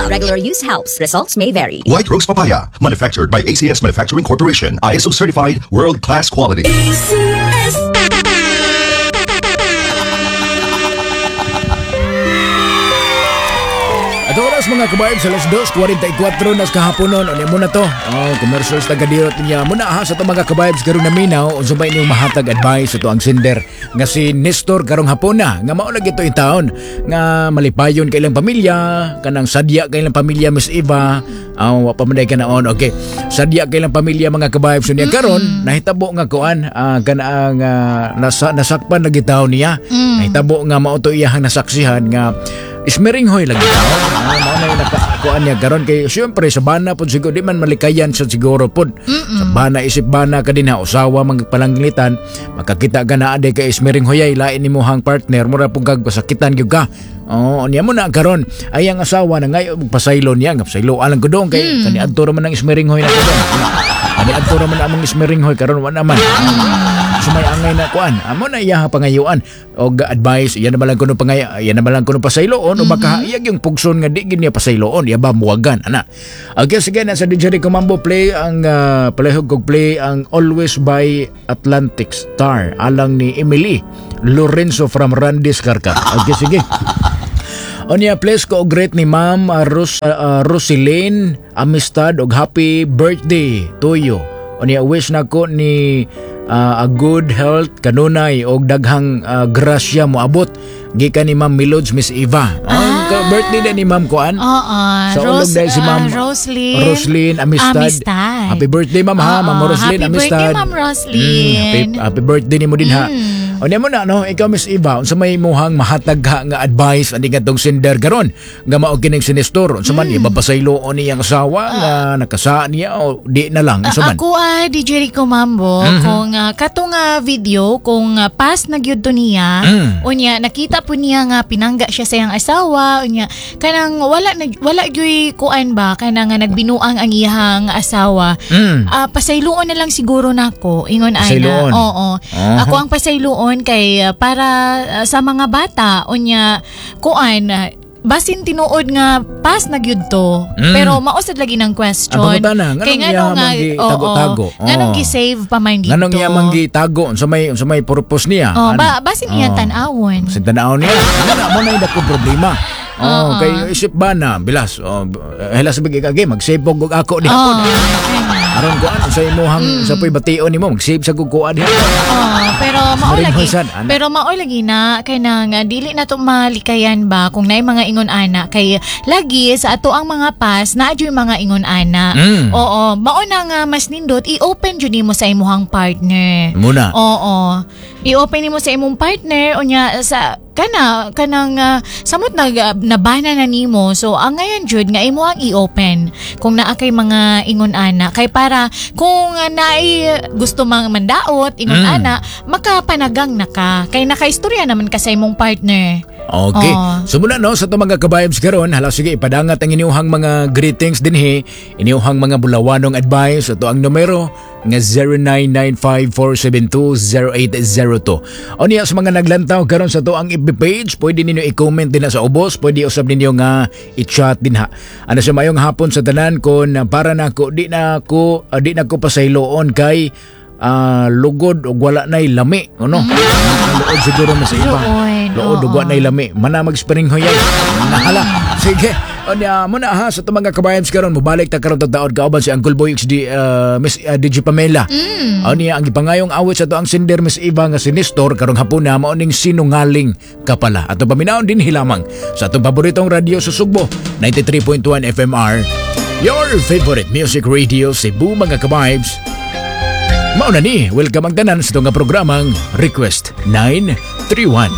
Regular use helps. Results may vary. White Rose Papaya, manufactured by ACS Manufacturing Corporation, ISO certified, world-class quality. At oras, mga kabayan, sa alas 2:44 nas kahaponon. Ano mo na to? Oh, commercials taga-dirot niya. Muna ha sa to, mga kabayabs, karong naminaw unsa ba inyong mahatag advice ato ang sender nga si Nestor karong hapon na nga mao lagi to taon nga malipayon kay ilang pamilya, kanang sadya kay ilang pamilya, Miss Eva. Ah, wa pa man day ka naon. Okay. Sadya kay ilang pamilya, mga kabayabs, niya karon nahitabo nga kuan, kanang nasakpan lagi taon niya. Nahitabo nga mao to iyahang nasaksihan nga ismiringhoy lagi taon. Mao na yung nakakuan niya karon kay siyempre sa bana pud siguro di man malikayan sa siguro pud. Sa bana, isip bana ka din ha, usawa magpalanglitan, makakita ka na aday kay ismiringhoy lain nimo hang partner, mura pud kag pasakitan gyud ka. Oo, niya mo na karon ay ang asawa na ngayon pasaylo niya nga pasaylo alang ko doon kay kani adto ra man ang ismiringhoy na ko doon. Kani adto ra man among ismiringhoy karon wa naman. Sumay angay na kuan. Amo na iya pangayuan og advice, iya naman lang kuno pangay, iya naman lang kuno pasayloon o baka iya yung pugson nga di gid niya pasayloon, iya ba muwagan ana. Okay, sige na sa DJ Rico Mambo, play ang palihog kog play ang Always by Atlantic Star alang ni Emily Lorenzo from Randis Karkar. Okay, sige. Onya, please ko greet ni Ma'am Roseline Amistad og happy birthday to you. Onya, wish nako ni a good health kanunay og daghang grasya moabot gikan ni Ma'am Milods, Miss Eva. Ah, birthday din ni Ma'am kuan. Oo. Sa ulog dahil si Ma'am Roslyn. Roslyn Amistad. Amistad. Happy birthday, Ma'am, ha, Oo, Ma'am Roslyn happy Amistad. birthday, Ma'am Roslyn. Happy birthday nimo din ha. O niya mo na no, ikaw, Miss Eva, unsa may imuhang mahatag ha nga advice ani kadtong sender karon nga mao kining si Nestor, unsa man ipapasayloon niyang asawa nga nakasaan niya o di na lang, unsa man? Ako DJ Rico Mambo, kung kato nga video, kung pass na gyud to niya, unya nakita po niya nga pinangga siya sa iyang asawa, unya kanang wala na wala gyuy kuan ba, kanang nga nagbinuang ang iyang asawa. Pasayloon na lang siguro nako ingon ana. Pasayloon. Oo. Ako ang pasayloon kay para sa mga bata, unya kuan, basin tinuod nga pass na gyud to. Pero mao sad lagi ng question. Ang pangutana, nganong Kay iya ngano nga man gi tago-tago? Oo. Nganong gi-save pa man dito? Nganong iya man gitago unsa may purpose niya? Oh, Ano? ba basin iyang tan-awon. Basin tan-awon niya. Ano mo na yung dako problema. Oh, kay isip ba na bilas. Oh, hela sa bigay kage mag-save og ako di hapon. Aron kuan sa imuhang sa poy bation nimo mag-save sa kog kuan diha. Oh, pero mao Maring lagi. hoysan, ana. Pero mao lagi na kay nang dili na to malikayan ba kung naay mga ingon ana, kay lagi sa ato ang mga pass naa jud mga ingon ana. Oo, mao na nga mas nindot i-open jud nimo sa imuhang partner. Muna. Oo. I-open nimo sa imong partner, unya sa kana kanang samot nag nabana na nimo, so ang ngayon jud nga imo ang i-open kung naa kay mga ingon ana, kay para kung naay gusto mang mandaot ingon ana, makapanagang na ka kay nakaistorya naman ka sa imong partner. Okay. Oo. So muna no sa itong mga kabayabs karon, hala sige, ipadangat ang inyong mga greetings dinhi, inyong mga bulawanong advice ato ang numero nga 0995-472-0802. O niya sa mga naglantaw karon sa to ang FB page, pwede ninyo i-comment din na sa ubos, pwede usab ninyo nga i-chat din ha. Ano sa mayong hapon sa tanan, kon para nako di na ko pasayloon kay lugod og wala na'y lami, ano? Luod siguro mo sa iba. Luod, Luod ug oo. wa na'y lami. Mana mag-spring hoyay. Nahala. Sige. Onya mo na ha sa itong mga kabayabs karon, mobalik ta karon taod kauban si Uncle Boy XD, Miss DJ Pamela. Onya ang gipangayong awit sa to ang sender, Miss Eva, nga si Nestor karong hapon na mao ning Sinungaling Ka Pala. Ato paminawon dinhi lamang sa atong paboritong radyo sa Sugbo, 93.1 FMR. Your favorite music radio Cebu, mga kabibes. Mao na ni, welcome ang tanan sa itong nga programang Request 931.